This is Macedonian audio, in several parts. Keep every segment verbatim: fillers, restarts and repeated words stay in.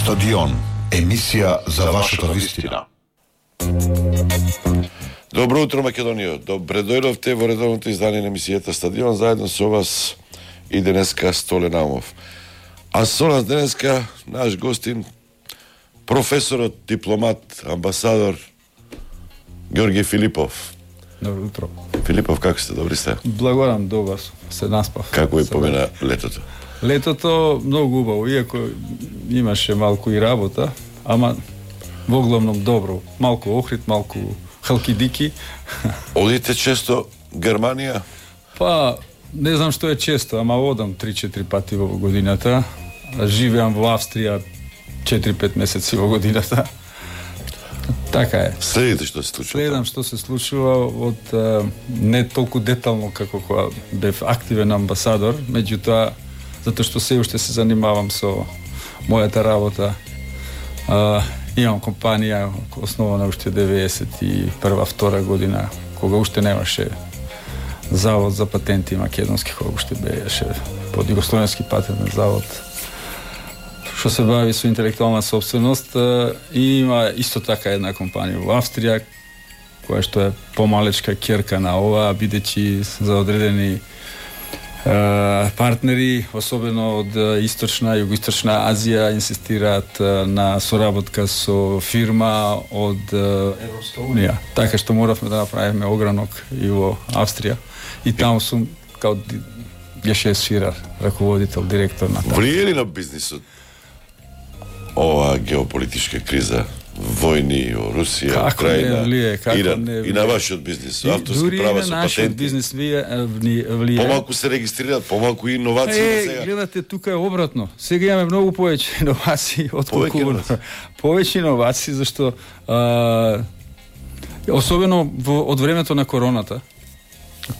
Стадион, емисија за вашата вистина. Добро утро, Македонија. Добре дојдовте во редовното издание на емисијата Стадион, заедно со вас и денеска Столе Наумов. А со нас денеска наш гостин, професорот, дипломат, амбасадор Ѓорѓе Филипов. Добро утро. Филипов, како сте? Добри сте? Благодарам, добар, се наспав. Како ви помина летото? Летото многу убаво, иако имаше малку и работа, ама во главном добро. Малку Охрид, малку халкидики. Одите често Германија? Па, не знам што е често, ама одам три-четири пати во годината. Живеам во Австрија четири-пет месеци во годината. Така е. Следите што се случува? Следам што се случува од не толку детално како кога бев активен амбасадор, меѓутоа затоа што се уште се занимавам со мојата работа. А, имам компанија основана уште деветдесет и прва втора година, кога уште немаше завод за патенти македонски, кога уште беше под Југословенски патентен завод, што се бави со интелектуална собственост. И има исто така една компанија во Австрија, која што е помалечка ќерка на ова, бидејќи за одредени партнери, особено од источна и југоисточна Азија, инсистираат на соработка со фирма од Европска унија. Така што моравме да направиме огранок и во Австрија. И таму сум као гешефсфирар, раководител, директор на таму. Влие ли на бизнисот ова геополитичка криза, војни во Русија, како Украина, не влие, како Иран, не влие. и на вашиот бизнис, авторски права со нашиот патенти? бизнис влие, влие. Помалку се регистрираат, помалку инновации Е, сега. гледате, тука е обратно. Сега имаме многу повеќе иновации од колку Повеќе повеќе иновации, зашто а, особено во, од времето на короната,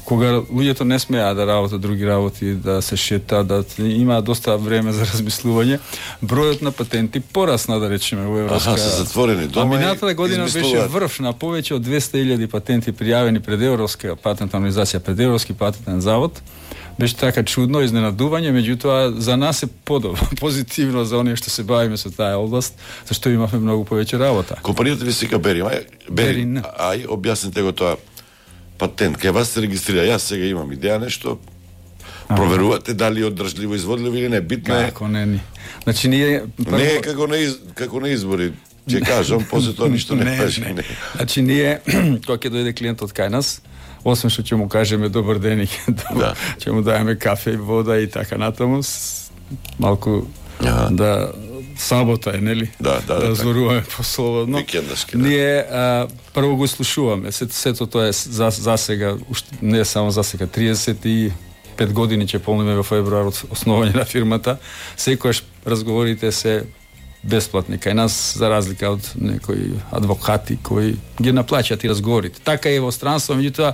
кога луѓето не смеа да работат други работи, да се шета, да има доста време за размислување, бројот на патенти порасна, да речеме, во Европска. Аха, се затворени дома. А минатата година беше врв на повеќе од двесте илјади патенти пријавени пред Европска патентна организација, пред Европски патентен завод. Беше така чудно изненадување, меѓутоа за нас е подобро, позитивно за оние што се бавиме со таа област, зашто имавме многу повеќе работа. Компанијата ви сека Берин, ај, Берин, Берин. ај, објасните го тоа. Патент, кај вас се регистрира, јас сега имам идеја нешто, проверувате дали е одржливо изводливо или не, битно е. Како не ни. Значи ние прво... Не е како на из... како на избори, ќе кажам, после тоа ништо не кажи. Не, не. Значи ние кога ќе дојде клиентот кај нас, освен што ќе му кажеме добар ден и да. ќе му даеме кафе и вода и така натаму, малку ага. да сабота е, нели? Да, да, да, да зборуваме послободно. Викендашки, да. Ние а, прво го слушуваме. Сето, сето тоа е за, за сега, уште, не е само за сега, триесет и пет години ќе полниме во февруар од основање на фирмата. Секојаш разговорите се бесплатни кај нас, за разлика од некои адвокати кои ги наплаќаат и разговорите. Така е во странство, меѓутоа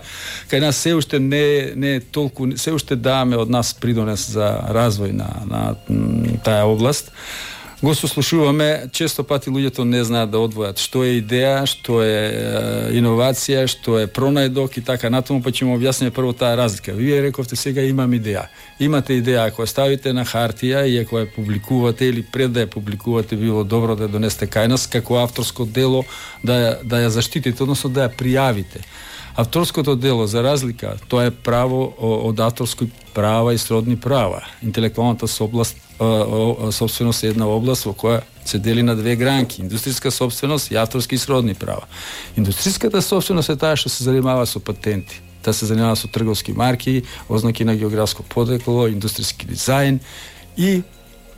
кај нас се уште не не е толку, се уште даваме од нас придонес за развој на на таа област. Го сослушуваме, често пати луѓето не знаат да одвојат што е идеја, што е, е иновација, што е пронајдок и така натаму, па ќе му објасниме прво таа разлика. Вие рековте сега имам идеја. Имате идеја, ако ја ставите на хартија и ако ја публикувате или пред да ја публикувате, било добро да ја донесете кај нас како авторско дело, да ја, да ја заштитите, односно да ја пријавите. Авторското дело, за разлика, тоа е право од авторски права и сродни права. Интелектуалната собласт, собственост е една област во која се дели на две гранки: индустријска собственост и авторски и сродни права. Индустријската собственост е таа што се занимава со патенти. Таа се занимава со трговски марки, ознаки на географско подрекло, индустријски дизајн и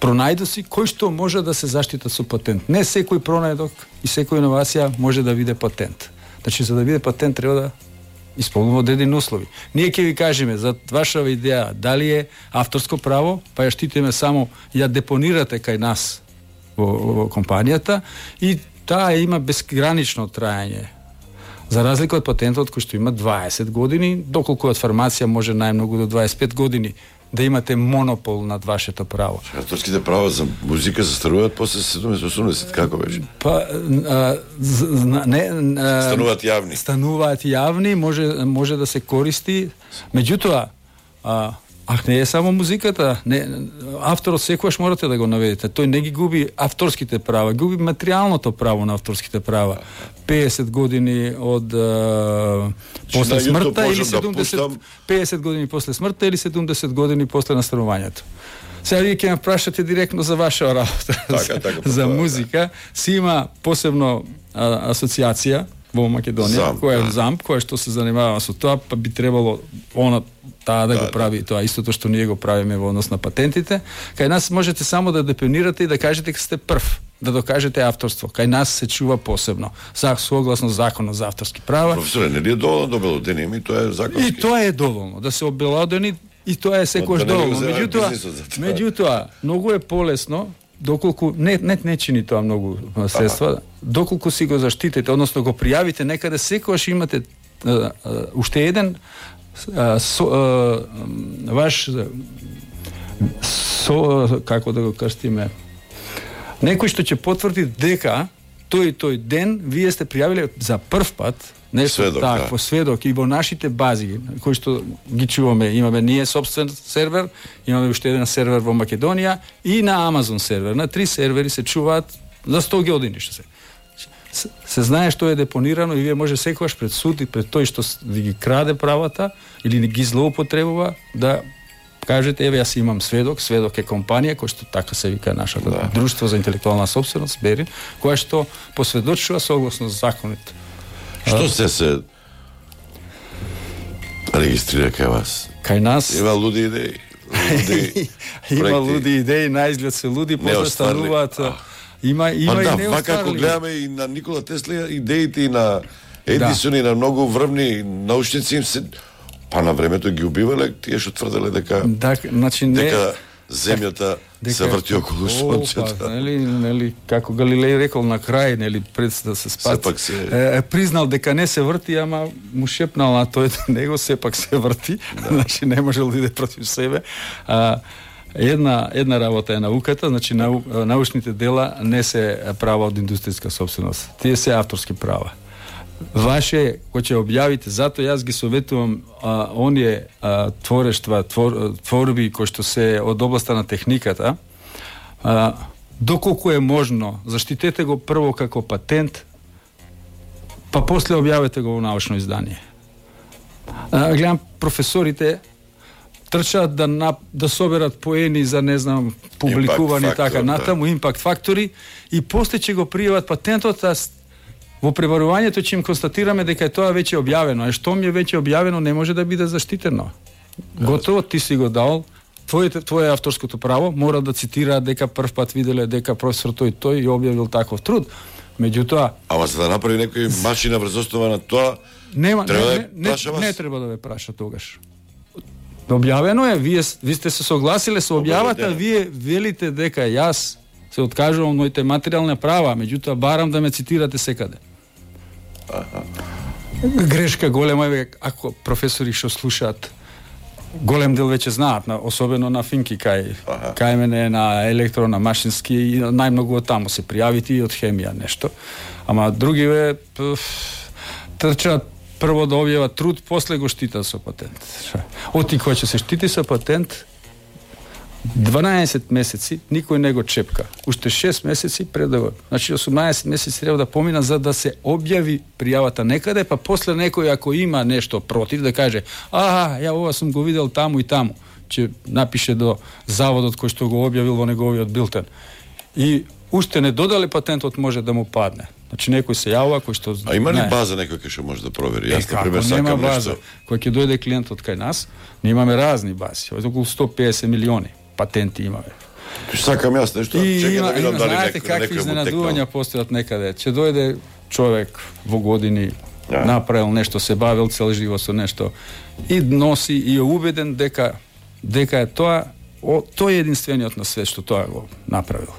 пронајдоци кои што може да се заштитат со патент. Не секој пронајдок и секоја иновација може да биде патент. Значи, за да биде патент треба да исполнува одредени услови. Ние ќе ви кажеме за вашава идеја дали е авторско право, па ја штитиме само, ја депонирате кај нас во, во компанијата и таа има безгранично траење. За разлика од патентот кој што има дваесет години, доколку од фармација може најмногу до дваесет и пет години да имате монопол над вашето право. Авторските права за музика се старуваат после седумдесет осумдесет, како беше? Па а, не а, стануваат јавни. Стануваат јавни, може може да се користи. Меѓутоа, а, А не е само музиката, не, авторот секогаш морате да го наведете. Тој не ги губи авторските права, губи материјалното право на авторските права. песет години од а, после смртта или седумдесет, да песет години после смртта или седумдесет години после настанувањето. Сега вие ќе ме прашате директно за ваша работа, така, за, така, за така, музика. Си има посебно а, асоциација во Македонија, која е ЗАМП, која што се занимава со тоа, па би требало она таа да, да го прави тоа истото што ние го правиме во однос на патентите. Кај нас можете само да депонирате и да кажете дека сте прв, да докажете авторство. Кај нас се чува посебно, за согласно законот за авторски права. Професоре, нели е доволно да обелоденим и тоа е законски? И тоа е доволно да се обелодени и тоа е секојаш да доволно. Меѓутоа, меѓутоа, многу е полесно доколку не не не чини тоа многу средства, ага. Доколку си го заштитите, односно го пријавите некаде, секогаш имате а, а, уште еден а, со, а, ваш со, како да го крстиме, некој што ќе потврди дека тој и тој ден вие сте пријавиле за прв пат нешто сведок, такво, да. сведок и во нашите бази кои што ги чуваме, имаме ние собствен сервер, имаме уште еден сервер во Македонија и на Амазон сервер, на три сервери се чуваат за сто години што се. Се, се знае што е депонирано и вие може секогаш пред суд и пред тој што ви ги краде правата или ги злоупотребува да кажете, еве јас имам сведок, сведок е компанија која што така се вика нашата да. Друштво за интелектуална сопственост, Берин, која што посведочува согласно законите. Што се се регистрира кај вас? Кај нас има луди идеи. Луди има луди идеи, наизглед се луди, после стануваат. Има има па, и да, не вака ако гледаме и на Никола Тесла идеите и на Едисон да. И на многу врвни научници им се па на времето ги убивале, тие што тврделе дека да, значи не дека земјата дека, се врти околу сонцето. Па, нели, нели, како Галилеј рекол на крај, нели, пред да се спаси, се... е, признал дека не се врти, ама му шепнал на тој него сепак се врти, да. Значи не можел да иде против себе. А, една една работа е науката, значи нау, научните дела не се права од индустријска собственост. Тие се авторски права. Ваше, кој ќе објавите, затоа јас ги советувам а, оние а, творештва, твор, творби кои што се од областа на техниката, а, доколку е можно, заштитете го прво како патент, па после објавете го во научно издание. А, гледам, професорите трчаат да, на, да соберат поени за, не знам, публикувани Impact така factor, натаму, да. импакт фактори, и после ќе го пријават патентот, а во пребарувањето ќе им констатираме дека е тоа веќе објавено, а што ми е веќе објавено не може да биде заштитено. Готово, ти си го дал, твоје твое авторското право, мора да цитира дека прв пат виделе дека професор тој тој и објавил таков труд. Меѓутоа, ама за да направи некој машина врз основа на тоа, нема треба не, да не, не, не треба да ве праша тогаш. Објавено е, вие ви сте се согласиле со објавата, вие велите дека јас се откажувам моите материјални права, меѓутоа барам да ме цитирате секаде. Аха. Грешка голема е ако професори што слушаат, голем дел веќе знаат, на, особено на финки кај ага. Кај мене на електро, на машински и најмногу од таму се пријавити и од хемија нешто. Ама други ве трчаат прво да објават труд, после го штитат со патент. Оти кој ќе се штити со патент, дванаесет месеци никој не го чепка. Уште шест месеци пред да го. Значи осумнаесет месеци треба да помина за да се објави пријавата некаде, па после некој ако има нешто против да каже: "Аха, ја ова сум го видел таму и таму", ќе напише до заводот кој што го објавил во неговиот билтен. И уште не додале патентот може да му падне. Значи некој се јавува кој што А има ли база некој кој што може да провери? Јас на пример сакам нешто. Кој ќе дојде клиентот кај нас, ние имаме разни бази, околу сто педесет милиони патенти имаме. Сакам јас нешто, чекам да видам дали знаете некој какви изненадувања постојат некаде. Ќе дојде човек во години, yeah. направил нешто, се бавил цел живот со нешто и носи и е убеден дека дека е тоа, о, тој е единствениот на свет што тоа го направил.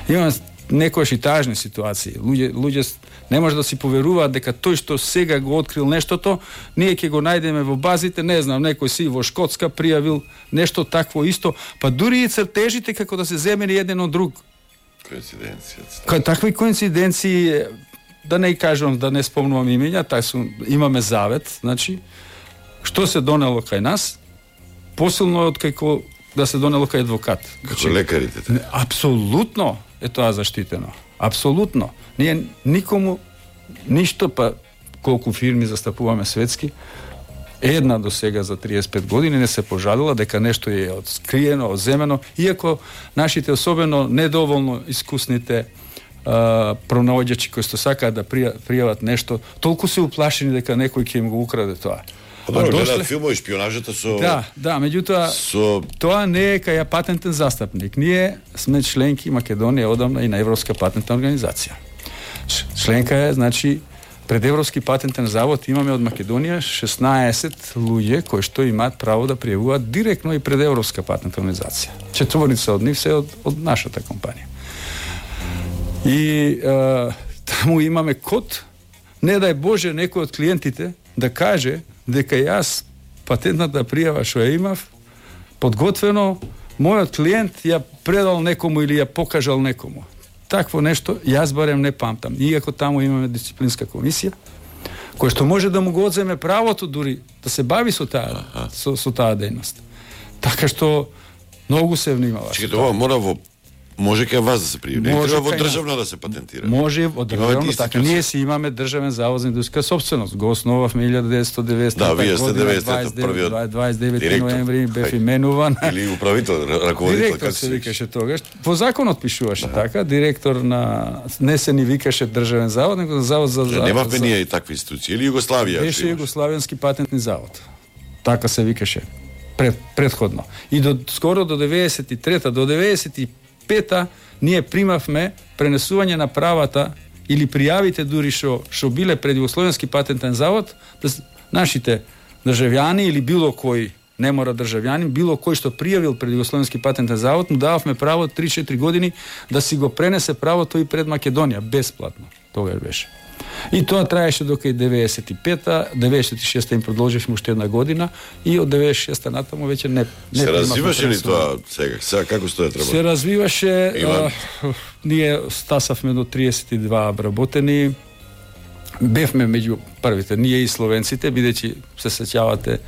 Има некојаш и тажни ситуации. Луѓе луѓе не може да си поверуваат дека тој што сега го открил нештото, ние ќе го најдеме во базите, не знам, некој си во Шкотска пријавил нешто такво исто, па дури и цртежите како да се земени еден од друг. Коинциденција. Кај такви коинциденции, да не кажам, да не спомнувам имења, тај су, имаме завет, значи, што се донело кај нас, посилно од како да се донело кај адвокат. Како лекарите. Апсолутно е тоа заштитено. Апсолутно. Ние никому ништо, па колку фирми застапуваме светски, една до сега за триесет и пет години не се пожалила дека нешто е откриено, одземено, иако нашите особено недоволно искусните а, пронаоѓачи кои што сакаат да пријават нешто, толку се уплашени дека некој ќе им го украде тоа. Па добро, гледаат филмови, шпионажата со... Да, да, меѓутоа, со... тоа не е кај патентен застапник. Ние сме членки Македонија одамна и на Европска патентна организација. Членка е, значи, пред Европски патентен завод имаме од Македонија шеснаесет луѓе кои што имаат право да пријавуваат директно и пред Европска патентна организација. Четворица од нив се од, од нашата компанија. И а, таму имаме код, не дај Боже некој од клиентите да каже дека јас патентната пријава што ја имав подготвено, мојот клиент ја предал некому или ја покажал некому. Такво нешто јас барем не памтам. Иако таму имаме дисциплинска комисија која што може да му го одземе правото дури да се бави со таа со, со таа дејност. Така што многу се внимава. Чекайте, ова мора во може кај вас да се пријави. Не треба во државно да се патентира. Може од државно, така ние си имаме државен завод за индустријска собственост. Го основавме илјада деветстотини и деветдесета да, вие сте година, првиот дваесет и девети ноември бев именуван. Или управител, раководител, директор се викаше тогаш. По законот пишуваше да. Така, директор на не се ни викаше државен завод, него завод за за немавме ние и такви институции или Југославија. Беше Југославенски патентни завод. Така се викаше пред предходно. И до скоро до деветдесет и трета до деветдесет и пета ние примавме пренесување на правата или пријавите дури што што биле пред Југословенски патентен завод, да нашите државјани или било кој, не мора државјанин, било кој што пријавил пред Југословенски патентен завод, му дававме право три-четири години да си го пренесе правото и пред Македонија бесплатно. Тогаш беше. И тоа траеше до кај деветдесет и пета, деветдесет и шеста им продолживме уште една година и од деветдесет и шеста натаму веќе не не се развиваше ли тоа сега? Сега како стои треба? Се развиваше, а, ние стасавме до триесет и два обработени. Бевме меѓу првите, ние и словенците, бидејќи се сеќавате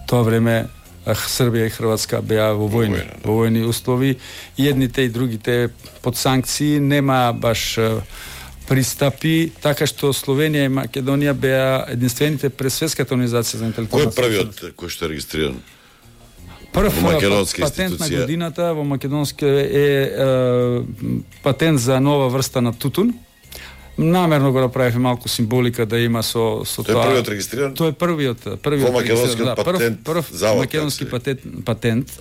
тоа време Србија и Хрватска беа во војни, во војни услови, и едните и другите под санкции, нема баш пристапи, така што Словенија и Македонија беа единствените пред Светската организација за интелектуална собственост. Кој е првиот кој што е регистриран? Прв патент на годината во македонски е, е, е патент за нова врста на тутун. Намерно го направивме малку символика да има со со тоа. Тој е првиот регистриран? Тој е првиот, првиот во македонски да, патент. Прв, прв завод, македонски патент, патент.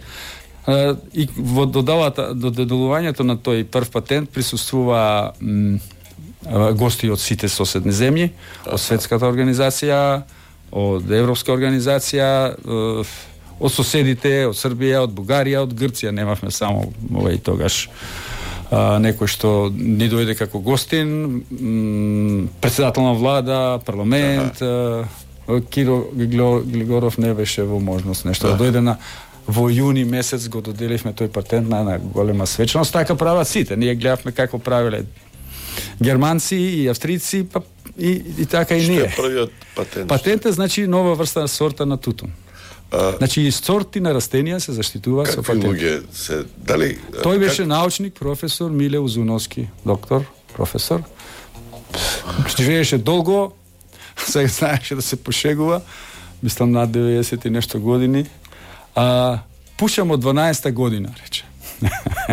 И во додавата до доделувањето на тој прв патент присуствува м, гости од сите соседни земји, од Светската организација, од Европска организација, од соседите, од Србија, од Бугарија, од Грција. Немавме само овој тогаш а, некој што ни дојде како гостин, м, председател на влада, парламент, а, Киро Глигоров не беше во можност нешто да дојде на во јуни месец го доделивме тој патент на една голема свечност. Така прават сите. Ние гледавме како правеле германци и австрици, па и, и така и ние. Што е првиот патент? Патентот значи нова врста сорта на тутун. А, значи и сорти на растенија се заштитува со патент. Какви луѓе се дали? Тој беше как... научник, професор Миле Узуновски, доктор, професор. Живееше долго, сега знаеше да се пошегува, мислам над деветдесет и нешто години. А пушам од дванаесета година, рече.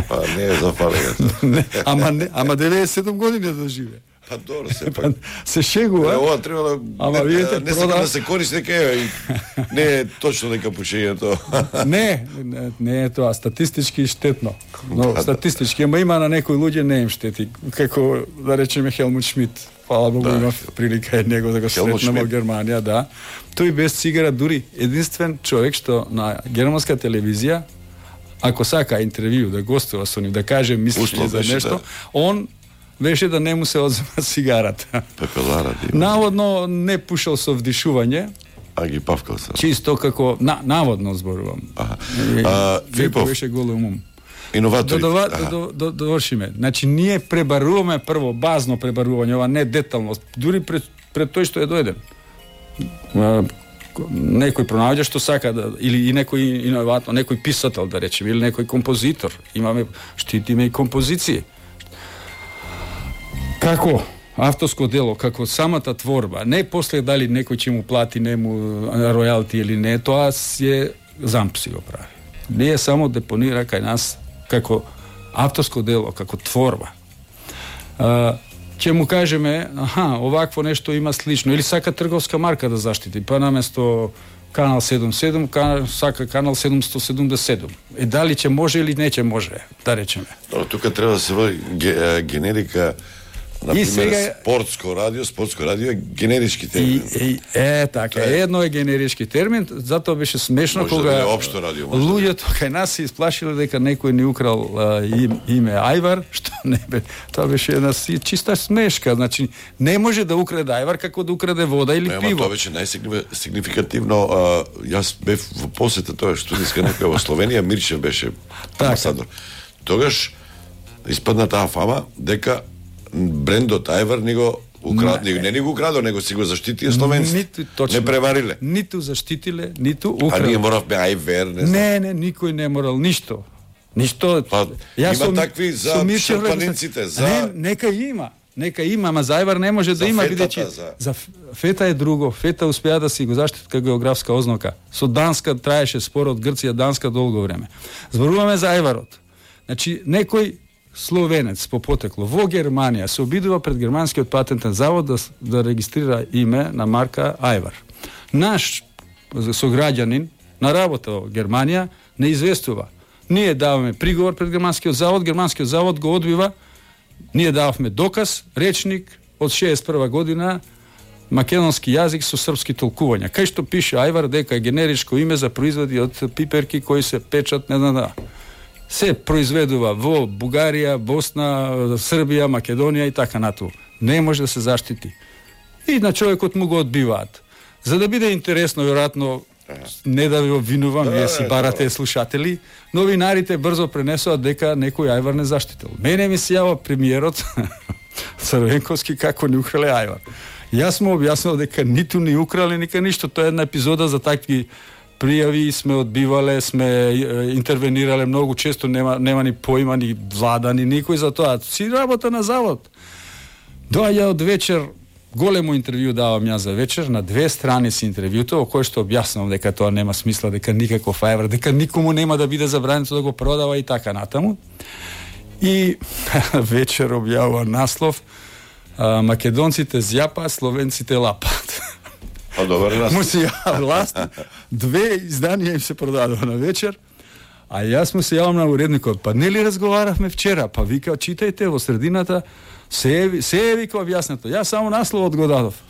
Па не е запалено. ама не, ама деветдесет и седум години да живее. Па добро, се пак. Се шегува. Ова требало ама не, видите, не прода... сака да се користи дека е не е точно дека пушењето. не, не, не е тоа статистички штетно. Но да, статистички, ама има на некои луѓе не им штети, како да речеме Хелмут Шмидт. Фала Богу, да. Имав прилика од него да го сретнем во Германија, да. Тој без цигара дури единствен човек што на германска телевизија, ако сака интервју да гостува со нив, да каже мисли за нешто, да. Он беше да не му се одзема цигарата. Пепелара да наводно не пушал со вдишување, а ги павкал се. Чисто како на, наводно зборувам. Аха. А, Филипов беше голем ум. Иноватори. До, до, до, до, довршиме. Значи ние пребаруваме прво базно пребарување, ова не детално, дури пред, пред тој што е дојден. некој пронаоѓа што сака да, или и некој иноватно, некој писател да речеме, или некој композитор. Имаме, штитиме и композиции. Како авторско дело, како самата творба, не после дали некој ќе му плати нему ројалти или не, тоа е замп си го прави. Не е само депонира кај нас како авторско дело, како творба. А, ќе му кажеме, аха, овакво нешто има слично, или сака трговска марка да заштити, па наместо канал седумдесет и седум, кан, сака канал седумстотини седумдесет и седум. Е, дали ќе може или не ќе може, да речеме. Но тука треба да се води ге, генерика. Например, сега... спортско радио, спортско радио е генерички термин. И, и, е, така, е. Едно е генерички термин, затоа беше смешно може кога да општо радио, луѓето кај нас се исплашиле дека некој ни украл а, им, име Ајвар, што не бе, тоа беше една чиста смешка, значи не може да украде Ајвар како да украде вода или не, пиво. Тоа беше најсигнификативно, а, јас бев во посета тоа студентска некоја во Словенија, Мирчев беше амбасадор. Тогаш испадна таа фама дека брендот Ајвар ни го украд, не, не ни го украдо, него си го заштитија словенците. Не превариле. Ниту заштитиле, ниту украдо. А ние моравме Ајвер, не знам. Не, не, никој не морал ништо. Ништо. Па, Јас има сум, такви за шарпанинците, за... Не, нека има. Нека има, ама за Ајвар не може за да има, фетата, бидејќи за... за фета е друго. Фета успеа да си го заштити како географска ознака. Со Данска траеше спор од Грција Данска долго време. Зборуваме за Ајварот. Значи, некој словенец по потекло во Германија се обидува пред германскиот патентен завод да, да регистрира име на марка Ајвар. Наш сограѓанин на работа во Германија не известува. Ние даваме приговор пред германскиот завод, германскиот завод го одбива, ние дававме доказ, речник од шеесет и прва година македонски јазик со српски толкувања. Кај што пише Ајвар дека е генеричко име за производи од пиперки кои се печат, не знам да. Се произведува во Бугарија, Босна, Србија, Македонија и така натаму. Не може да се заштити. И на човекот му го одбиваат. За да биде интересно, веројатно, не да ви обвинувам, вие си барате слушатели, новинарите брзо пренесоа дека некој Ајвар не заштитил. Мене ми се јава премиерот Црвенковски како ни украле Ајвар. Јас му објаснил дека ниту ни украле, ника ништо. Тоа е една епизода за такви пријави, сме одбивале, сме интервенирале многу често, нема, нема ни поима, ни влада, ни никој за тоа. Си работа на завод. Доаѓа од вечер, големо интервју давам ја за вечер, на две страни си интервјуто, во кој што објаснувам дека тоа нема смисла, дека никаков Ајвар, дека никому нема да биде забрането да го продава и така натаму. И вечер објавува наслов, а, македонците зјапаат, словенците лапаат. А добар нас. Му се ја власт, две изданија им се продадува на вечер, а јас му се јавам на уредникот, па нели разговаравме вчера, па вика, читајте во средината, се е, се е вика објаснето. Јас само насловот го дадов.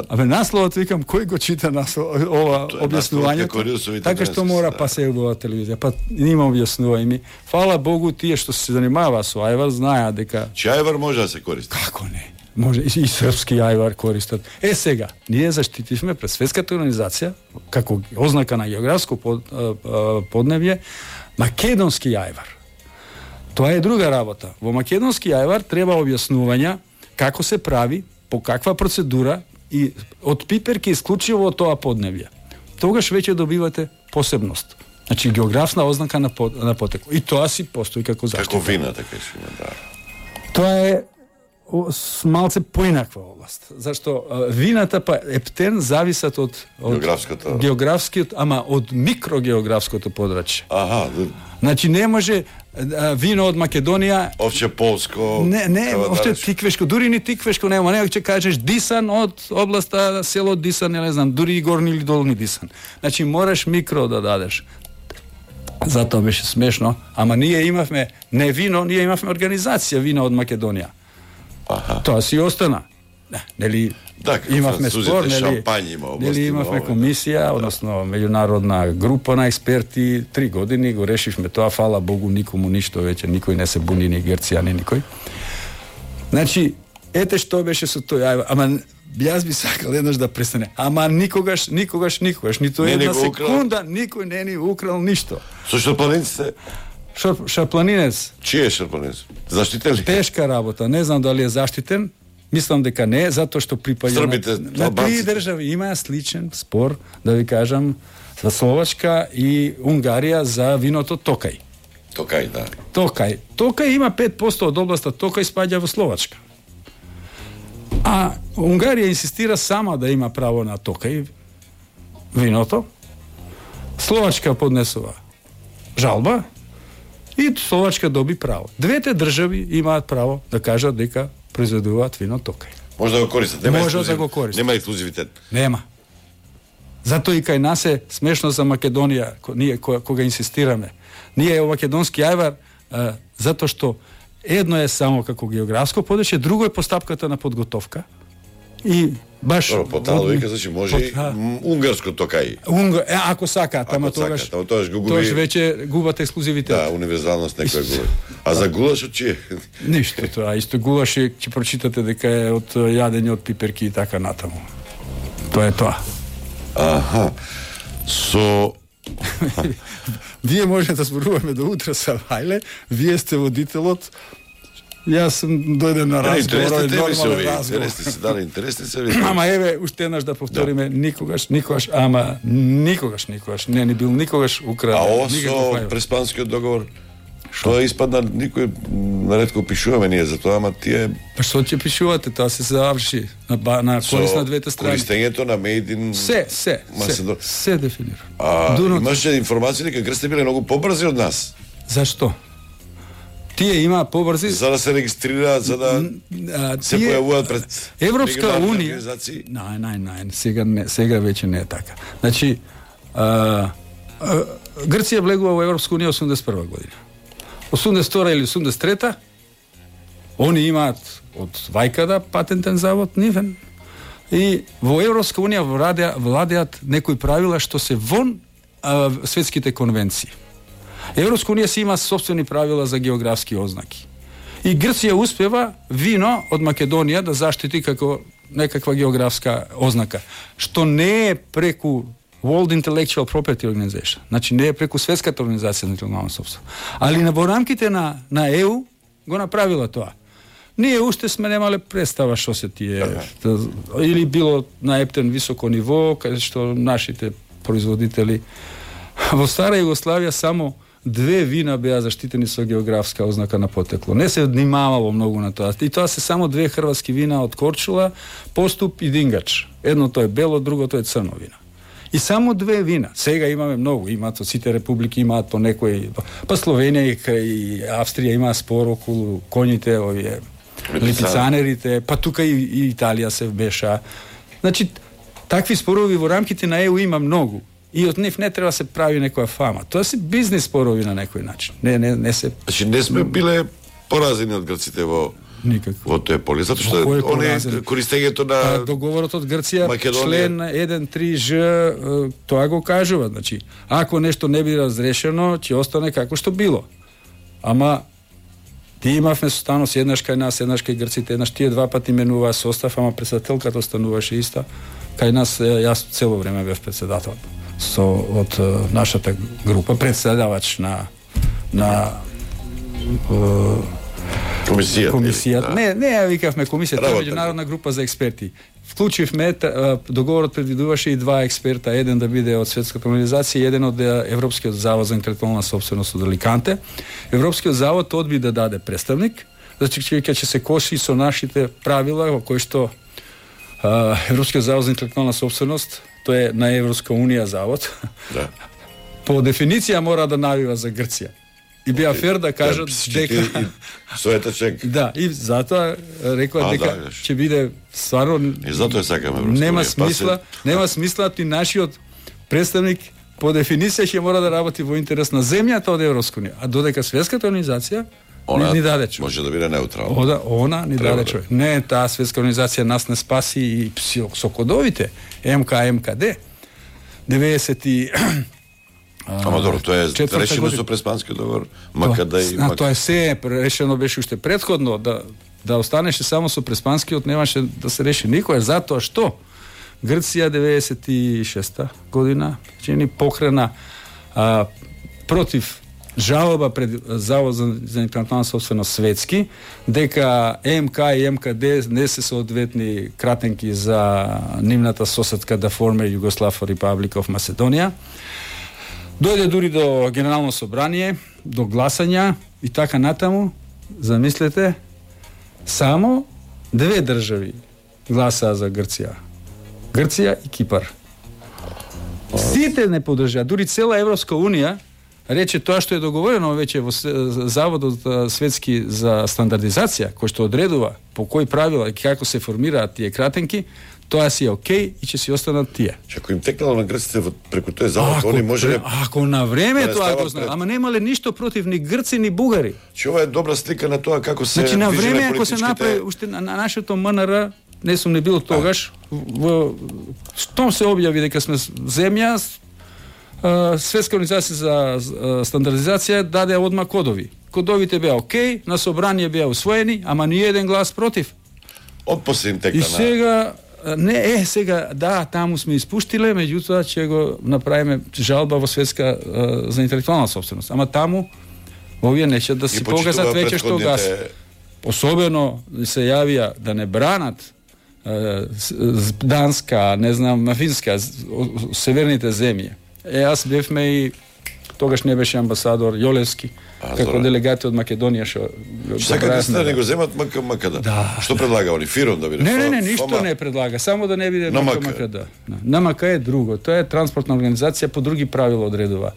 Абе насловот викам, кој го чита наслов, ова објаснувањето? Така што мора па се во телевизија, па нема објаснувај ми. Фала Богу тие што се занимава со Ајвар знаеа дека че Ајвар може да се користи. Како не? Може и, и српски Ајвар користат. Е сега, ние заштитивме пред светската организација како ознака на географско под, подневје македонски Ајвар. Тоа е друга работа. Во македонски Ајвар треба објаснувања како се прави, по каква процедура и од пиперки исклучиво од тоа подневје. Тогаш веќе добивате посебност. Значи географсна ознака на, под, на потекло. И тоа си постои како заштита. Како вина, така си има, да. Тоа е малце поинаква област. Зашто вината па ептен зависат од, од географското, географскиот, ама од микрогеографското подрачје. Аха. Значи не може а, вино од Македонија овче полско. Не, не, овче тиквешко, дури ни тиквешко нема, не ќе кажеш Дисан од областа село Дисан, не знам, дури и горни или долни Дисан. Значи мораш микро да дадеш. Затоа беше смешно, ама ние имавме не вино, ние имавме организација вино од Македонија. Аха. Тоа си остана. Нели да, имавме спор, нели, има нели имавме комисија, односно меѓународна група на експерти, три години го решивме тоа, фала Богу, никому ништо веќе, никој не се буни, ни Грција, ни никој. Значи, ете што беше со тој, ама јас би сакал еднаш да престане. Ама никогаш, никогаш, никогаш, ниту не една секунда, никој не ни украл ништо. Со шарпланинците? Шар, шарпланинец. Чиј е шарпланинец? Заштитен ли? Тешка работа, не знам дали е заштитен. Мислам дека не, затоа што припаѓа Србите, на, на три држави имаа сличен спор, да ви кажам, за Словачка и Унгарија за виното Токај. Токај, да. Токај. Токај има пет проценти од областа Токај спаѓа во Словачка. А Унгарија инсистира сама да има право на Токај виното. Словачка поднесува жалба и Словачка доби право. Двете држави имаат право да кажат дека произведуваат вино Токај. Може да го користат, нема Може ексклузив... да го користат. Нема ексклузивитет. Нема. Затоа и кај нас е смешно за Македонија, ние кога инсистираме. Ние е македонски ајвар, а, затоа што едно е само како географско подručje, друго е постапката на подготовка. И баш Добро, потало вика, значи може и унгарско Токај. Унга, е, ако сакаат, ама тогаш сакат, тогаш го губи. Тогаш веќе губат ексклузивитет. Да, универзалност некој губи. А за гулашот чие? Ништо тоа, исто гулаш е, ќе прочитате дека е од јадење од пиперки и така натаму. Тоа е тоа. Аха. Со Вие може да зборуваме до утре са Вајле, вие сте водителот. Јас сум дојден на разговор, нормален разговор. Интересни се, да, интересни се. Ама еве, уште еднаш да повториме, да. никогаш, никогаш, ама никогаш, никогаш, не ни бил никогаш украден. А ово со преспанскиот договор, што испадна, никој наредко пишуваме ние за тоа, ама тие... Па што ќе пишувате, тоа се заврши на, на корист на двете страни. Користењето на Made in... Се, се, се, се дефинира. А, имаше информација дека грците биле многу побрзи од нас. Зашто? Тие има побрзи за да се регистрираат, за да а, се тие... појавуваат пред Европска унија. Нај, нај, нај, сега не, сега веќе не е така. Значи, а, а, Грција влегува во Европска унија осумдесет и прва година. осумдесет и втора или осумдесет и трета они имаат од Вајкада патентен завод нивен и во Европска унија владеа, владеат некои правила што се вон а, светските конвенции. Европска унија си има собствени правила за географски ознаки. И Грција успева вино од Македонија да заштити како некаква географска ознака, што не е преку World Intellectual Property Organization, значи не е преку светската организација на интелектуална собственост. Али на во рамките на на Е У го направила тоа. Ние уште сме немале представа што се тие да, или било на ептен високо ниво, каде што нашите производители во стара Југославија само две вина беа заштитени со географска ознака на потекло. Не се внимавало многу на тоа. И тоа се само две хрватски вина од Корчула, Поступ и Дингач. Едното е бело, другото е црно вино. И само две вина. Сега имаме многу, имаат од сите републики, имаат по некои, па Словенија и, и Австрија има спор околу коњите, овие липицанерите, па тука и, и Италија се вмеша. Значи, такви спорови во рамките на Е У има многу. И од нив не треба се прави некоја фама. Тоа се бизнес спорови на некој начин. Не, не, не се... Значи, не сме биле поразени од грците во никако. Во тој поле, затоа што они користењето на а, договорот од Грција, Македонија... член еден три Ж, тоа го кажува, значи, ако нешто не биде разрешено, ќе остане како што било. Ама ти имавме состанос еднаш кај нас, еднаш кај грците, еднаш тие два пати менуваа состав, ама председателката остануваше иста. Кај нас јас цело време бев председател со од нашата група, председавач на на комисијата. Комисијата. Да. Не, не ја викавме комисија, тоа е меѓународна група за експерти. Вклучивме, договорот предвидуваше и два експерта, еден да биде од Светската организација и еден од Европскиот завод за интелектуална собственост од Аликанте. Европскиот завод одби да даде представник, значи ќе се коши со нашите правила во кои што а, Европскиот завод за интелектуална собственост, тоа е на Европска унија завод. Да. По дефиниција мора да навива за Грција. И беа фер да кажат дека соетачек. Да, и затоа рекоа дека да, ќе биде стварно и затоа сакаме Европска нема смисла, се... нема смисла ти нашиот представник по дефиниција ќе мора да работи во интерес на земјата од Европска унија, а додека Светската организација она ни даде човек. Може да биде неутрална. Ода, она ни Треба даде човек. Да. Не, таа Светска организација нас не спаси и со кодовите М К М К Д деветдесет и Ама добро, тоа е решено со преспанскиот договор, макаде и мак... Тоа е се решено беше уште претходно да да останеше само со преспанскиот, немаше да се реши никој, затоа што Грција деветдесет и шеста година че ни покрена а, против жалба пред Завод за, за интелектуална собственост светски, дека М К и М К Д не се соодветни кратенки за нивната соседка да форме Югослав Република of Macedоnia. Дојде дури до Генерално собрание, до гласања и така натаму. Замислете, само две држави гласаа за Грција. Грција и Кипар. Сите не поддржаа, дури цела Европска унија рече тоа што е договорено веќе во Заводот светски за стандардизација, кој што одредува по кои правила и како се формираат тие кратенки, тоа си е окей и ќе си останат тие. Че ако им текнало на грците преку тој завод, они може... Ако на време тоа го знаат, ама немале ништо против ни грци ни бугари. Че ова е добра слика на тоа како се значи, на време ако се политичките... направи уште на, на нашето М Н Р, не сум не бил тогаш, во штом се објави дека сме земја, Светска организација за стандардизација даде одма кодови. Кодовите беа окей, на собрание беа усвоени, ама ни еден глас против. Од после им текна. И сега не е сега да таму сме испуштиле, меѓутоа ќе го направиме жалба во Светска за интелектуална собственост. Ама таму овие нече да си покажат веќе што гас. Особено се јавија да не бранат Данска, не знам, Финска, северните земји. Е, аз бевме и тогаш не беше амбасадор Јолевски, а, како делегати од Македонија што сакате да не го земат МК МКД. Да. Што предлага они фиром да биде? Не, не, не, ништо не предлага, само да не биде МК МКД. На МК е друго, тоа е транспортна организација по други правила одредува.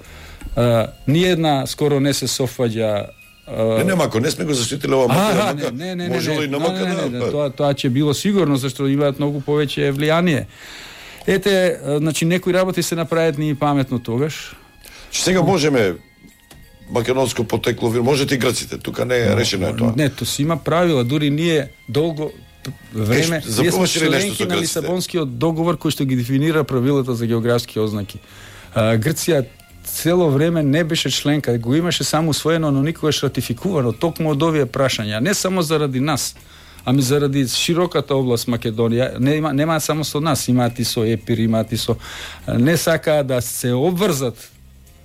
А, ниедна скоро не се софаѓа. Не, нема, ако не сме го заштитиле ова МК, не, не, не, може ли на МК? Тоа тоа ќе било сигурно, зашто имаат многу повеќе влијание. Ете, значи некои работи се направат ни паметно тогаш. Че сега можеме македонско потекло, можете и грците, тука не е решено е тоа. Не, тоа си има правила, дури ние долго време, е, ние сме членки на Лисабонскиот договор кој што ги дефинира правилата за географски ознаки. А, Грција цело време не беше членка, го имаше само усвоено, но никогаш ратификувано, токму од овие прашања, не само заради нас, ами заради широката област Македонија, нема нема само со нас, имаат и со ЕПИР, имаат и со не сакаа да се обврзат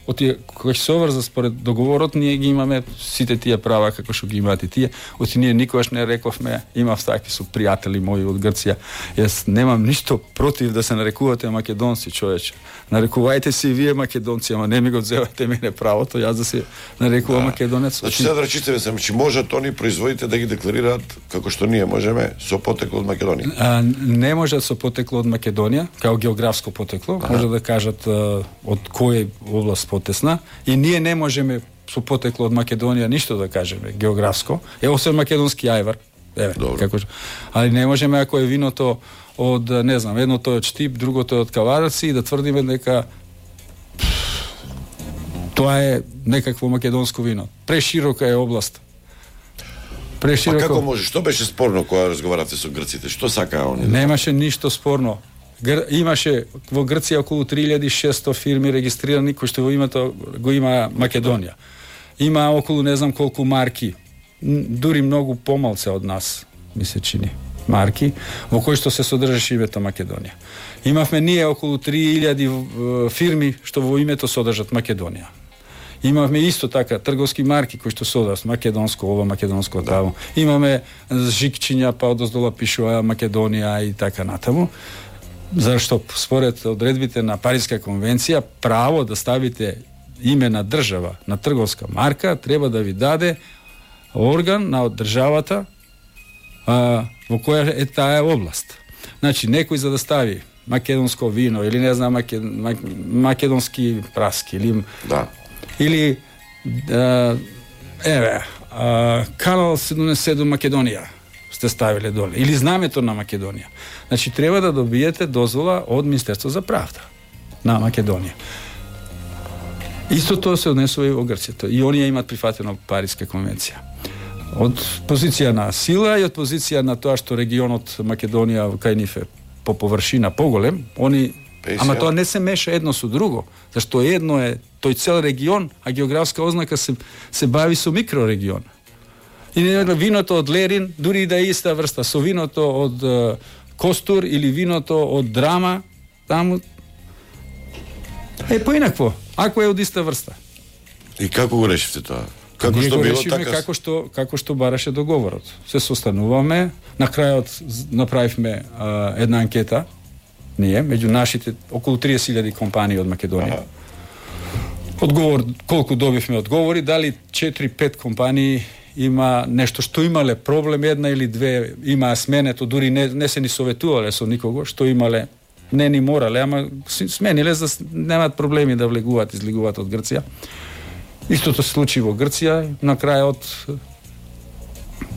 од тие кои се обврзат според договорот, ние ги имаме сите тие права како што ги имаат и тие. Оти ние никогаш не рековме, имав такви со пријатели мои од Грција. Јас немам ништо против да се нарекувате македонци, човече. Нарекувајте се и вие македонци, ама не ми го взевате мене правото, јас да се нарекувам да. Македонец. Значи сега да речите сам, че можат они производите да ги декларираат како што ние можеме со потекло од Македонија. А, не можат со потекло од Македонија, како географско потекло, ага. Може да кажат а, од која област потесна, и ние не можеме со потекло од Македонија ништо да кажеме географско. Е освен македонски ајвар. Еве, како али не можеме ако е виното од, не знам, едното е од Штип, другото е од Кавараци и да тврдиме дека тоа е некакво македонско вино. Преширока е област. Преширока. А како може? Што беше спорно кога разговаравте со грците? Што сакаа они? Немаше ништо спорно. Гр... Имаше во Грција околу три илјади и шесто фирми регистрирани кои што во името го има Македонија. Има околу не знам колку марки, дури многу помалце од нас, ми се чини, марки во кои што се содржаше името Македонија. Имавме ние околу три илјади фирми што во името содржат Македонија. Имавме исто така трговски марки кои што содржат македонско ова, македонско таму. Имаме жикчиња, па одоздола пишува Македонија и така натаму. Зашто според одредбите на Париска конвенција право да ставите име на држава на трговска марка треба да ви даде орган на државата а, во која е таа област. Значи некој за да стави македонско вино или не знам маке, мак, македонски праски или да. Или а, еве а, канал седумдесет и седум Македонија сте ставиле доле или знамето на Македонија. Значи треба да добиете дозвола од Министерство за правда на Македонија. Исто тоа се однесува и во Грција. И оние имаат прифатено Париска конвенција. Од позиција на сила и од позиција на тоа што регионот Македонија кај нив е по површина поголем, они Песија. Ама тоа не се меша едно со друго, зашто едно е тој цел регион, а географска ознака се се бави со микрорегион. И виното од Лерин, дури да е иста врста со виното од uh, Костур или виното од Драма, таму е поинакво, ако е од иста врста. И како го решивте тоа? Како Ние што го било решиме така? како што како што бараше договорот. Се состануваме, на крајот направивме а, една анкета, ние меѓу нашите околу триесет илјади компании од Македонија. Ага. Одговор колку добивме одговори, дали четири-пет компании има нешто што имале проблем, една или две имаа сменето, дури не, не се ни советувале со никого, што имале, не ни морале, ама смениле за немаат проблеми да влегуваат, излегуваат од Грција. Истото се случи во Грција, на крајот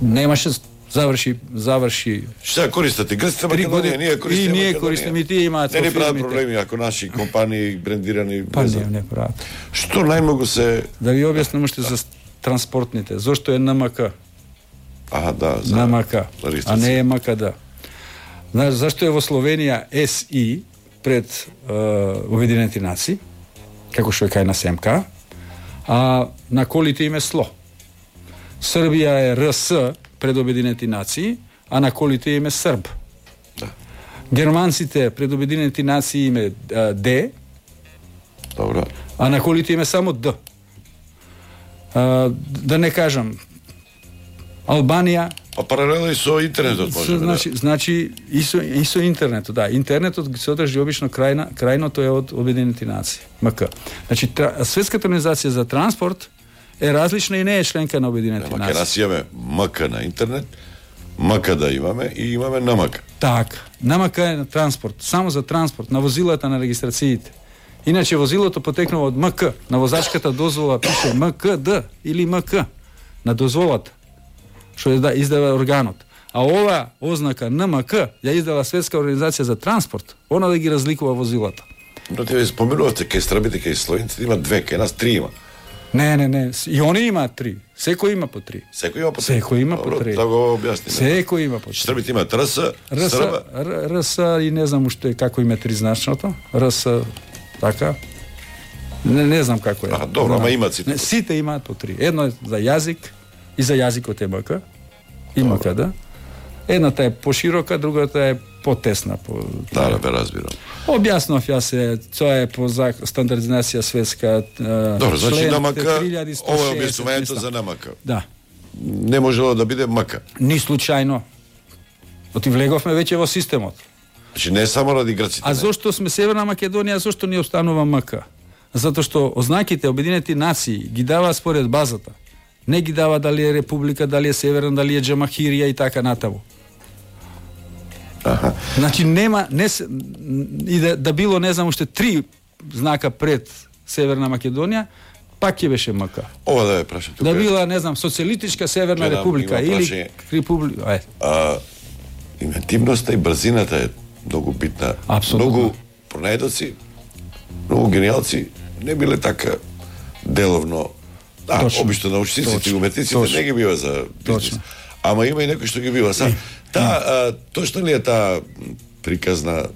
немаше заврши заврши Што користите Грција, Македонија, ние користиме. И ние користиме, и тие имаат. Не ни прават проблеми ако наши компании брендирани. Па не, не прават. Што најмногу се Да ви објаснам уште за транспортните. Зошто е Н М К? Аха, да, за Н М К, а не е М К Д. Знаеш зашто е во Словенија С И пред е, Обединените нации, како што е кај на С М К, а на колите им е СЛО. Србија е Р С пред Обединените нации, а на колите им е Срб. Да. Германците пред Обединените нации им е Д. Добро. А на колите им е само Д. А, да не кажам Албанија. А паралелно и со интернетот може. Значи, да. значи и со, и со интернетот, да. Интернетот се одржи обично крајна, крајното е од Обединените нации, М К. Значи тра, Светската организација за транспорт е различна и не е членка на Обединените Ама нации. ке нас имаме М К на интернет, М К да имаме и имаме Н М К. Така. Н М К е на транспорт, само за транспорт, на возилата, на регистрациите. Иначе возилото потекнува од М К, на возачката дозвола пише М К Д или М К на дозволата, што е да издава органот. А ова ознака Н М К ја издала Светска организација за транспорт, она да ги разликува возилата. Но тебе споменувате кај србите, кај словенците има две, кај нас три има. Не, не, не, и они имаат три. Секој има по три. Секој има по три. Секој има по три. Да го објасни. Секој има по три. Србите имаат Р С, Р С, Срба. Р С и не знам уште како име тризначното. Р С така. Не, не знам како е. А, добро, ама имаат сите. Не, сите имаат по три. Едно е за јазик и за јазикот е М К. И М К Д. Едната е поширока, другата е потесна. По... Да, да, бе, разбирам. Објаснав ја се, тоа е по стандардизација светска. Добро, значи Н М К, три сто ова е шеесет објаснувањето за Н М К. Да. Не можело да биде М К. Ни случајно. Оти влеговме веќе во системот. Значи не е само ради грците. А зошто сме Северна Македонија, зошто ни останува М К? Затоа што ознаките Обединети нации ги дава според базата. Не ги дава дали е република, дали е северна, дали е Џамахирија и така натаму. Аха. Значи нема не се, и да, да било не знам уште три знака пред Северна Македонија, пак ќе беше М К. Ова да ја прашам тука. Да била не знам социјалистичка Северна Гледам, република има или прашање. република. Ај. А, инвентивноста и брзината е многу битна. Апсолутно. Многу пронајдоци, многу гениалци не биле така деловно. Да, Точно. обично научниците и Точно. уметниците Точно. не ги бива за бизнес. Точно. Ама има и некој што ги бива. Са, та, а, точно ли е таа приказна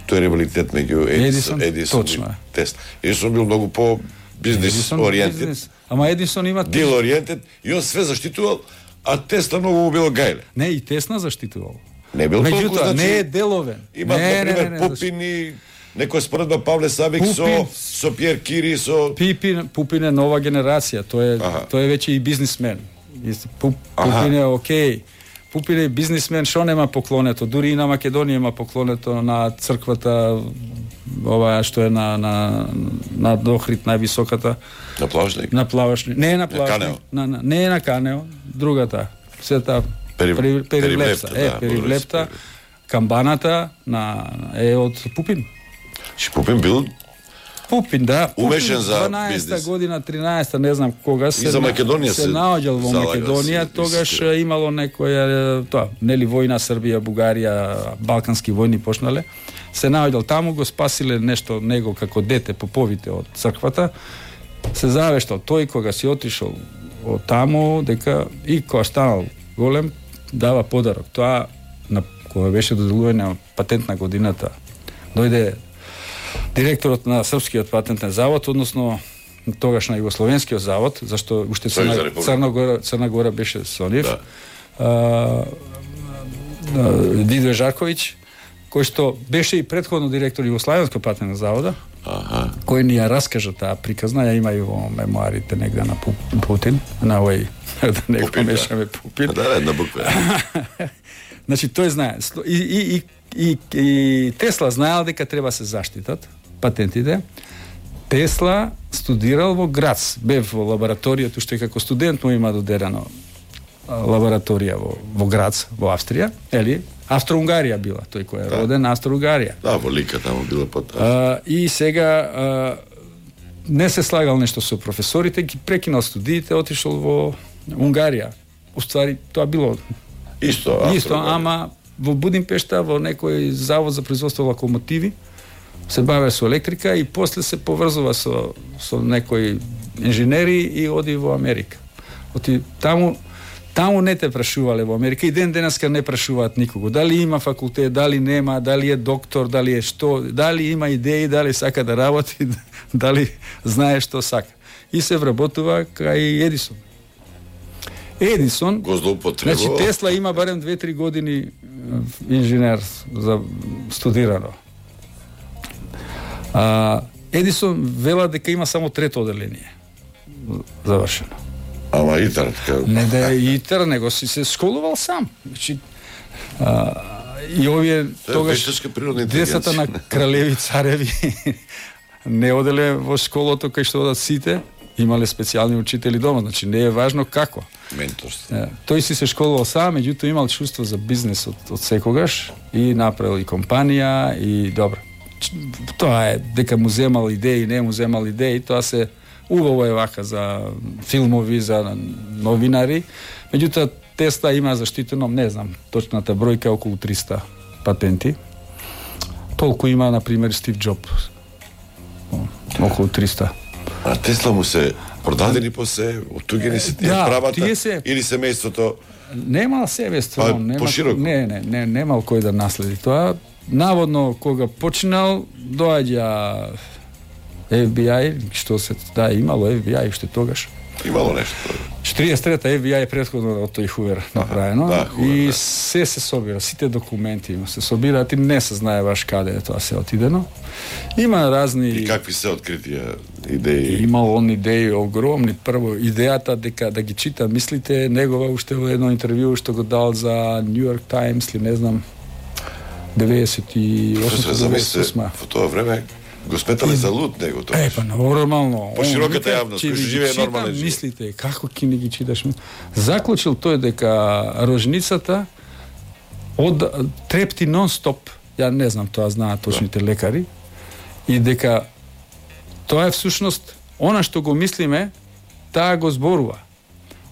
тој ревалитет меѓу Едисон, Едисон, Едисон точно е. и Тесла? Едисон бил многу по бизнес Едисон ориентед, бизнес. Ама Едисон има дил ориентед и он све заштитувал, а Тесла многу му било гајле. Не, и Тесна заштитувал. Не бил толку, Меѓутоа, значи, не е деловен. Има, не, например, не, не, Пупин и некоја споредба Павле Савик со, Пупин. со Пиер Кири, со... Пипин, Пупин е нова генерација, тој е Аха. тој е веќе и бизнисмен. И Пуп, Аха. Пупин е окей. Пупин е бизнисмен, што нема поклонето, дури и на Македонија има поклонето на црквата ова што е на на на Дохрид највисоката На плавашник. на плавашник. Не е на плавашник, Канео. на, на не е на Канео, другата света Пери- Пери- Перивлепта, Перивлепта, е да, Перивлепта. Камбаната на е од Пупин. Че Пупин бил Пупин, да. Пупин, Умешен за дванаесета бизнес. година, тринаесета, не знам кога се за Македонија се се наоѓал во залагал, Македонија, се тогаш инсистира. имало некоја тоа, нели војна Србија, Бугарија, балкански војни почнале. Се наоѓал таму, го спасиле нешто него како дете поповите од црквата. Се завештал тој кога си отишол од таму дека и кога станал голем дава подарок. Тоа на кога беше доделување на патент на годината. Дојде директорот на Српскиот патентен завод, односно тогаш на Југословенскиот завод, зашто уште Сојуз за Црна, Република. Црна Гора, Црна Гора беше со нив. Да. А, а, Дидо Жарковиќ, кој што беше и претходно директор Југославенскog патентно завода, Аха. кој ни ја раскажа таа приказна, ја има и во мемуарите негде на Путин, на овој, да не го мешаме Пупин. Да, една буква. Значи, тој знае. И, и, и, и, и Тесла знаел дека треба се заштитат патентите. Тесла студирал во Грац, бев во лабораторијата, што како студент му има додерено лабораторија во, во Грац, во Австрија, ели, Австро-Унгарија била, тој кој е да. роден Австро-Унгарија. Да, во Лика таму била под. А, и сега а, не се слагал нешто со професорите, ги прекинал студиите, отишол во Унгарија. Уствари, тоа било Исто, Исто, ама во Будимпешта, во некој завод за производство локомотиви, се баве со електрика и после се поврзува со, со некои инженери и оди во Америка. Оти таму, таму не те прашувале во Америка и ден денеска не прашуваат никого. Дали има факултет, дали нема, дали е доктор, дали е што, дали има идеи, дали сака да работи, дали знае што сака. И се вработува кај Едисон. Едисон, го злоупотребува. Значи Тесла има барем две-три години инженер за студирано. А, Едисон вела дека има само трето оделение завршено. Ама ИТАР, така... Не да е ИТАР, него си се школувал сам. Значи, а, и овие тогаш децата на кралеви цареви не оделе во школото кај што одат сите, имале специјални учители дома, значи не е важно како. Менторство. Е, тој си се школувал сам, меѓутоа имал чувство за бизнес од, од секогаш и направил и компанија и добро. Тоа е дека му земал идеи, не му земал идеи, тоа се убаво е вака за филмови, за новинари. Меѓутоа Тесла има заштитено, не знам, точната бројка околу триста патенти. Толку има, на пример, Стив Џобс. Околу триста. А Тесла му се продадени после, оттугени се тие да, правата тие се... или семејството? Немал семејство, па, нема, пошироко. Не, не, не, немал кој да наследи тоа. Наводно кога починал, доаѓа Еф Би Ај, што се да имало Еф Би Ај уште тогаш. Имало нешто. четиридесет и трета Еф Би Ај претходно од тој Хувер направено, да, Хувер, и да. се се собира, сите документи се собираат и не се знае баш каде е тоа се отидено. Има разни... И какви се откритија идеи? Имал он идеи огромни. Прво, идејата дека да ги чита мислите, негова уште во едно интервју што го дал за Нью Йорк Таймс, или не знам, деветдесет и осма деветдесет и осма. Во тоа време го сметале за луд него тоа. Е, па нормално. По широката јавност, кој живее нормален живот. Мислите, како ќе не ги читаш? Заклучил тој дека рожницата од трепти нон-стоп, ја не знам, тоа знаат точните лекари, и дека тоа е всушност она што го мислиме, таа го зборува.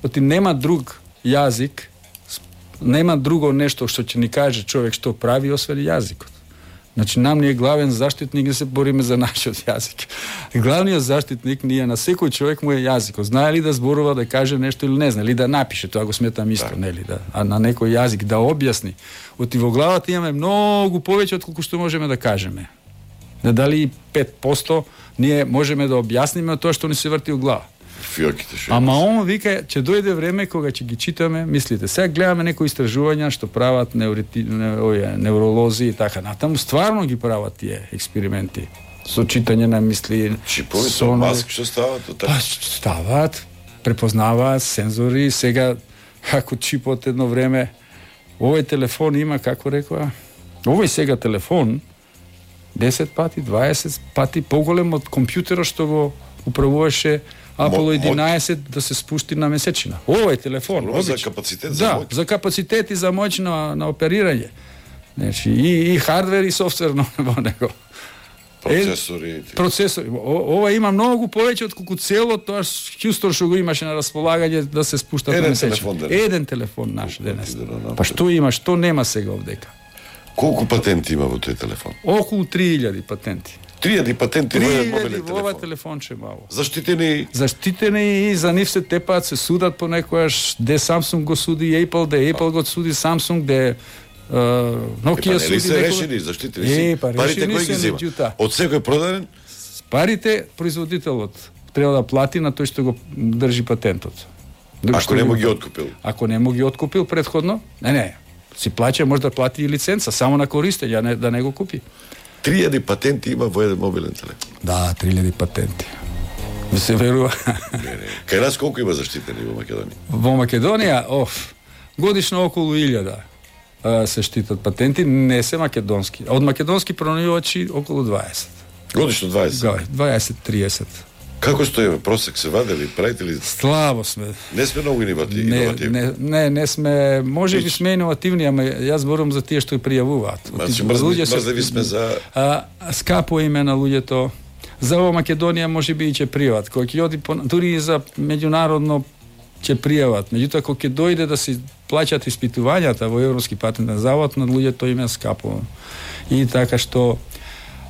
Оти нема друг јазик, нема друго нешто што ќе ни каже човек што прави освен јазикот. Значи, нам ни е главен заштитник да се бориме за нашиот јазик. Главниот заштитник ни е на секој човек му е јазикот. Знае ли да зборува, да каже нешто или не знае, или да напише, тоа го сметам исто, да. Нели, да, а на некој јазик да објасни. Оти во главата имаме многу повеќе од колку што можеме да кажеме. Не дали пет проценти ние можеме да објасниме тоа што ни се врти во глава. Фиоките шо. Ама он вика, ќе дојде време кога ќе ги читаме, мислите. Сега гледаме некои истражувања што прават неурити, не, оја, невролози и така натаму, стварно ги прават тие експерименти со читање на мисли. Чипови со маски што стават од така? Стават, препознаваат сензори, сега ако чипот едно време, овој телефон има, како рекоа, овој сега телефон десет пати, дваесет пати поголем од компјутерот што го управуваше Аполо единаесет да се спушти на месечина. Овој телефон, за капацитет за да, моќ. за капацитет и за моќ на, на оперирање. Значи и, и хардвер и софтвер во него. Процесори. Е, процесори. О, ова има многу повеќе од колку цело тоа Хјустон што го имаше на располагање да се спушта на месечина. Телефон, Еден телефон наш денес. Па што има, што нема сега овдека? Колку патенти има во тој телефон? Околу три илјади патенти. три илјади патенти во еден мобилен во ова телефон. телефонче мало. Заштитени. Заштитени и за нив се тепаат, се судат понекогаш, де Samsung го суди Apple, де Apple го суди Samsung, де uh, Nokia е, па, суди. се решени, заштитени си. Е, па, парите решени кој ги се, зема? меѓутоа. Од секој продаден? Парите производителот треба да плати на тој што го држи патентот. Ако не му ги откупил. Ако не му ги откупил претходно, не, не. си плаќа, може да плати и лиценца, само на користење, а не да не го купи. три илјади патенти има во еден мобилен телефон. Да, три илјади патенти. Ми се верува. Не, не. Кај нас колку има заштитени во Македонија? Во Македонија, оф, годишно околу илјада се штитат патенти, не се македонски. Од македонски пронajувачи околу дваесет. Годишно дваесет? дваесет триесет. Како стои просек, се вадели, правите ли? Слабо сме. Не сме многу иновативни. Не, не, не, не сме, може би сме иновативни, ама јас зборувам за тие што ја пријавуваат. Значи, мрзливи сме за... А, скапо име на луѓето. За ова Македонија може би и ќе пријават. Кој ќе оди по, дури и за меѓународно ќе пријават. Меѓутоа кога ќе дојде да се плаќаат испитувањата во Европски патентен завод, на луѓето им е скапо. И така што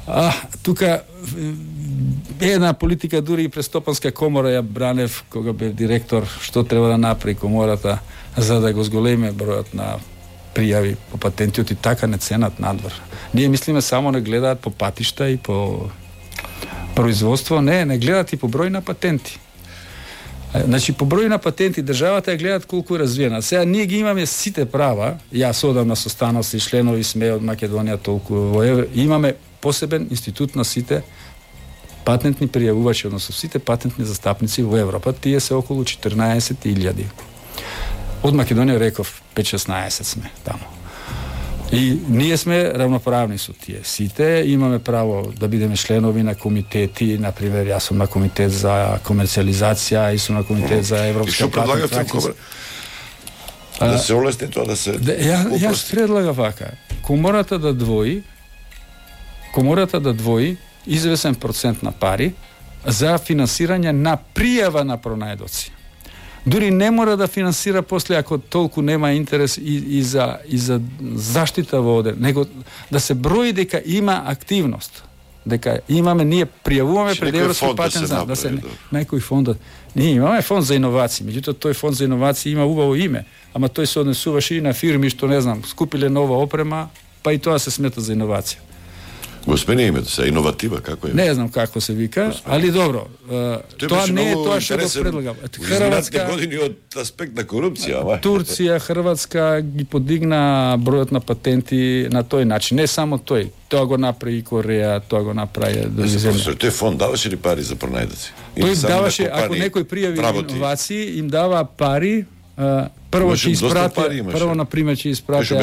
а тука една политика, дури и престопанска комора ја бранев кога бев директор, што треба да направи комората за да го зголеме бројот на пријави по патентиот и така не ценат надвор. Ние мислиме само не гледаат по патишта и по производство, не, не гледаат и по број на патенти. Значи, по број на патенти државата ја гледаат колку е развиена. Сега ние ги имаме сите права, јас одам на состаноци, членови сме од Македонија толку во евро, имаме посебен институт на сите патентни пријавувачи, односно сите патентни застапници во Европа, тие се околу четрнаесет илјади. Од Македонија реков пет-шеснаесет сме таму. И ние сме равноправни со тие. Сите имаме право да бидеме членови на комитети, например, јас сум на комитет за комерцијализација и сум на комитет за европска патентна практика. Да се олесни тоа, да се... Да, ја, јас предлагам вака. Комората да двои, комората да двои извесен процент на пари за финансирање на пријава на пронајдоци. Дури не мора да финансира после ако толку нема интерес и, и за и за заштита во одер, него да се брои дека има активност. Дека имаме, ние пријавуваме пред Европски патент за да се некој фонд. Ние имаме фонд за иновации, меѓутоа тој фонд за иновации има убаво име, ама тој се однесуваше и на фирми што не знам, скупиле нова опрема, па и тоа се смета за иновација. Го смени името се, иноватива, како е? Не знам како се вика, али добро. Тоа не е тоа што го предлагам. Хрватска години од аспект на корупција, ама. Турција, Хрватска ги подигна бројот на патенти на тој начин. Не само тој. Тоа го направи и Кореја, тоа го направи други земји. Тој фонд даваше ли пари за пронајдоци? Тој даваше, ако некој пријави иновации, им дава пари. Uh, прво ќе испратија, прво на пример ќе испратија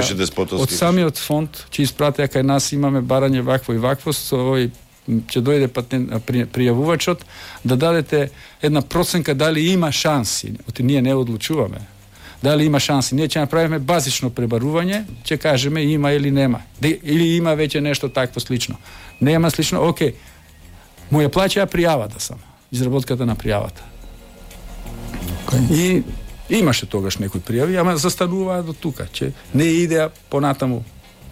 од самиот фонд, ќе испратија кај нас имаме барање вакво и вакво, со овој ќе дојде патент при, пријавувачот да дадете една проценка дали има шанси. Оти ние не одлучуваме. Дали има шанси. Ние ќе направиме базично пребарување, ќе кажеме има или нема. Или има веќе нешто такво слично. Нема слично, окей. Му ја плаќаа пријавата само, изработката на пријавата. И имаше тогаш некои пријави, ама застануваа до тука, че не идеа понатаму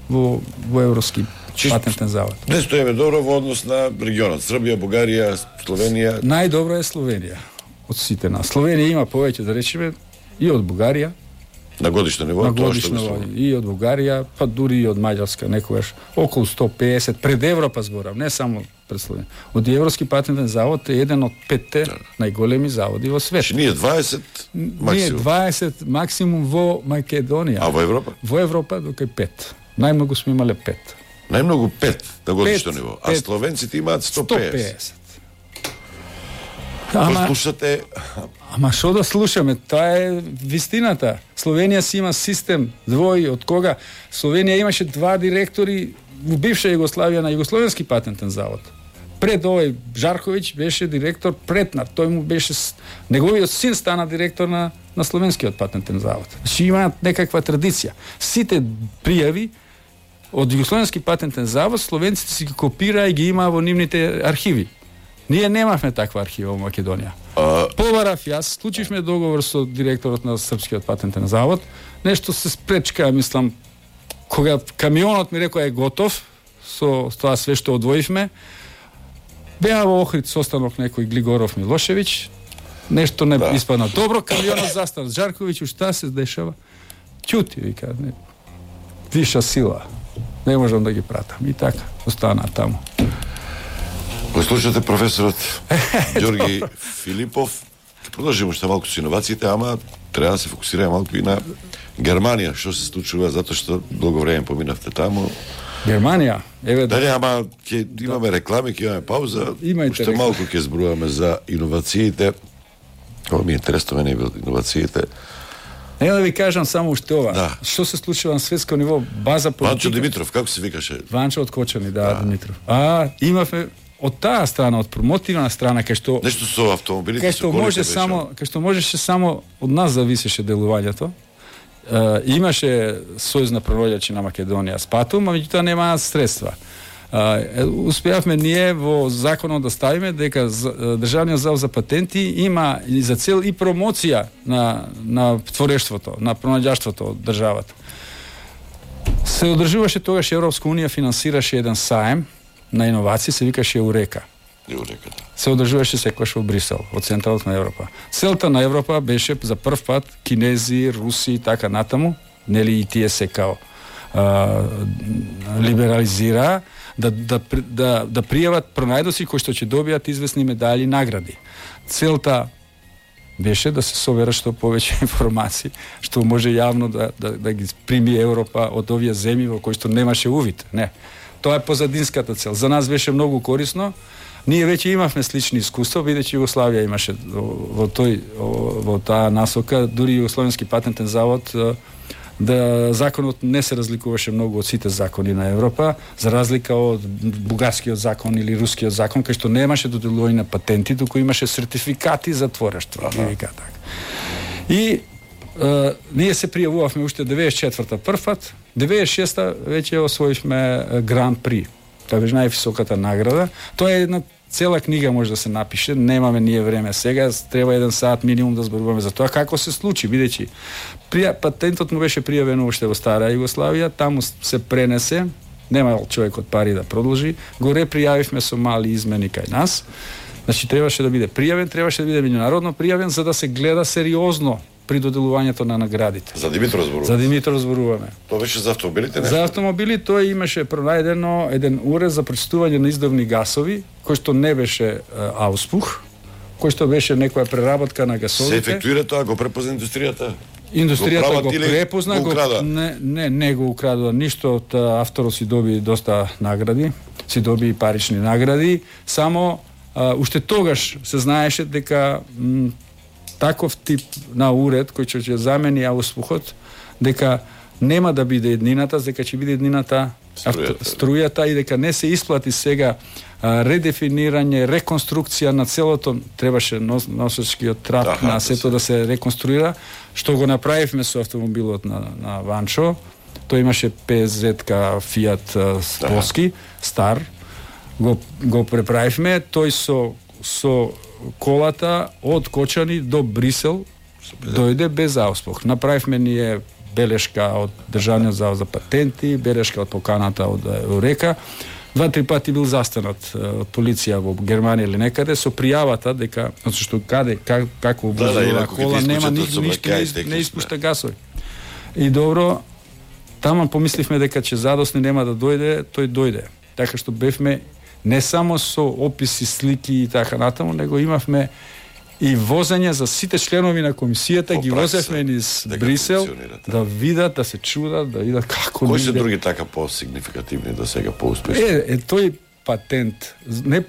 во, во Европски патентен завод. Не стоиме добро во однос на регионот. Србија, Бугарија, Словенија. Најдобро е Словенија од сите нас. Словенија има повеќе, да речеме, и од Бугарија. На годишно ниво, на тоа годишно што ниво, и од Бугарија, па дури и од Маѓарска, некогаш околу сто педесет пред Европа зборам, не само пред Словенија. Од Европски патентен завод е еден од петте да. најголеми заводи во свет. Че ние дваесет максимум. Ние дваесет максимум во Македонија. А во Европа? Во Европа дока пет. Најмногу сме имале пет. Најмногу пет на годишно ниво. А словенците имаат сто педесет. Ама слушате, ама што да слушаме? Тоа е вистината. Словенија си има систем двој од кога Словенија имаше два директори во бивша Југославија на Југословенски патентен завод. Пред овој Жарковиќ беше директор преднар. Тој му беше неговиот син стана директор на на Словенскиот патентен завод. Значи имаат некаква традиција. Сите пријави од Југословенски патентен завод словенците си ги копираа и ги имаа во нивните архиви. Ние немавме таква архива во Македонија. А... Побарав јас, склучивме договор со директорот на Српскиот патентен завод. Нешто се спречка, мислам, кога камионот ми рекоа е готов, со тоа све што одвоивме, беа во Охрид состанок некој Глигоров Милошевиќ, нешто не да. испадна добро, камионот застана. Жарковиќ, шта се дешава? Ќути, вика, не. Виша сила. Не можам да ги пратам. И така, остана таму. Го слушате професорот Германија, што се случува, затоа што долго време поминавте таму. Германија, еве Дали, ама ќе имаме реклами, ќе имаме пауза. Имајте Уште реклами. малку ќе зборуваме за иновациите. Ова ми е интересно мене иновациите. Нема да ви кажам само уште ова. Да. Што се случува на светско ниво, база политика. Ванчо Димитров, како се викаше? Ванчо од Кочани, да, да, Димитров. А, имавме од таа страна, од промотивна страна, кај што Нешто со автомобилите, кај со што колите може беше. само, кај што можеше само од нас зависеше делувањето. Uh, имаше сојузна превоѓачи на Македонија Спатум, а меѓутоа немаа средства. Uh, успеавме ние во законот да ставиме дека Државниот завод за патенти има и за цел и промоција на на творештвото, на пронаѓаштвото од државата. Се одржуваше тогаш Европска унија финансираше еден саем на иновации, се викаше Еурека. Еурека, да. Се одржуваше секогаш во Брисел, во централот на Европа. Целта на Европа беше за прв пат кинези, руси и така натаму, нели и тие се као а, либерализира да да да да пријават пронајдоци кои што ќе добијат известни медали и награди. Целта беше да се соберат што повеќе информации, што може јавно да да да ги прими Европа од овие земји во кои што немаше увид, не. Тоа е позадинската цел. За нас беше многу корисно. Ние веќе имавме слични искуства, бидејќи Југославија имаше во тој во таа насока, дури Југословенски патентен завод да законот не се разликуваше многу од сите закони на Европа, за разлика од бугарскиот закон или рускиот закон, кај што немаше доделување на патенти, туку имаше сертификати за творештво, ги вика така. И Uh, ние се пријавувавме уште деветдесет и четврта првпат, деветдесет и шеста веќе освоивме Гран При. Тоа беше највисоката награда. Тоа е една цела книга може да се напише, немаме ние време сега, треба еден сат минимум да зборуваме за тоа како се случи, бидејќи прија, патентот му беше пријавен уште во стара Југославија, таму се пренесе, немал човекот пари да продолжи, го репријавивме со мали измени кај нас. Значи требаше да биде пријавен, требаше да биде меѓународно пријавен за да се гледа сериозно при доделувањето на наградите. За Димитров зборуваме. За Димитров зборуваме. Тоа беше за автомобилите, не? За автомобили тој имаше пронајдено еден уред за пречистување на издувни гасови, кој што не беше а, ауспух, кој што беше некоја преработка на гасовите. Се ефектуира тоа, го препозна индустријата? Индустријата го, го препозна, го, го не, не, не го украдува ништо, од авторот си доби доста награди, си доби парични награди, само а, уште тогаш се знаеше дека м, таков тип на уред кој ќе замени ауспухот, дека нема да биде еднината, дека ќе биде еднината струјата, авто, струјата и дека не се исплати сега а, редефинирање, реконструкција на целото, требаше нос, носечкиот трап Аха, на сето да се реконструира, што го направивме со автомобилот на, на Ванчо. Тој имаше П З-ка Фиат Полски, стар, го, го преправивме, тој со, со колата од Кочани до Брисел дојде без ауспух. Направивме ние белешка од Државниот завод за патенти, белешка од поканата од Еурека. Два-три пати бил застанат од полиција во Германија или некаде со пријавата дека затоа што каде как, како да, да, кола нема ништо, не, не испушта гасови. И добро, таму помисливме дека ќе задосни нема да дојде, тој дојде. Така што бевме не само со описи, слики и така натаму, него имавме и возење за сите членови на комисијата, По ги пракса, возевме низ дека Брисел функционира, да видат, да се чудат, да видат како Кои се нигде- други така по-сигнификативни до сега, по-успешни? Е, е тој патент, не